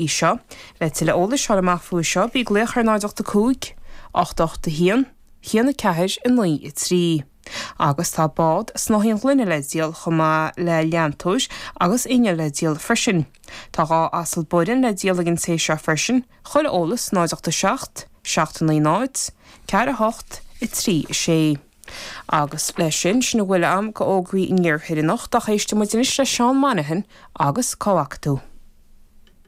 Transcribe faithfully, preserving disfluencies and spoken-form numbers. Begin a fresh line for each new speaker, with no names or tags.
í seo. Le tuilleadh eolais a fháil amach faoi seo bí ag glaoch ar náid ocht a cúig, ocht ocht a haon, haon a ceathair, a naoi, a trí. Agus tá bád snáithín gloine le díol chomh maith le leantóir agus inneall le díol freisin. Tá dhá asal Boran le díol ag an té seo freisin, chuile eolas náid ocht a seacht, seacht a naoi náid, ceathair a hocht, a trí a sé. Agus leis sin, sin a bhfuil agam d'fhógraí an iarthair anocht, ach éistfidh muid anois le Seán Monaghan agus Cá bhfaca tú?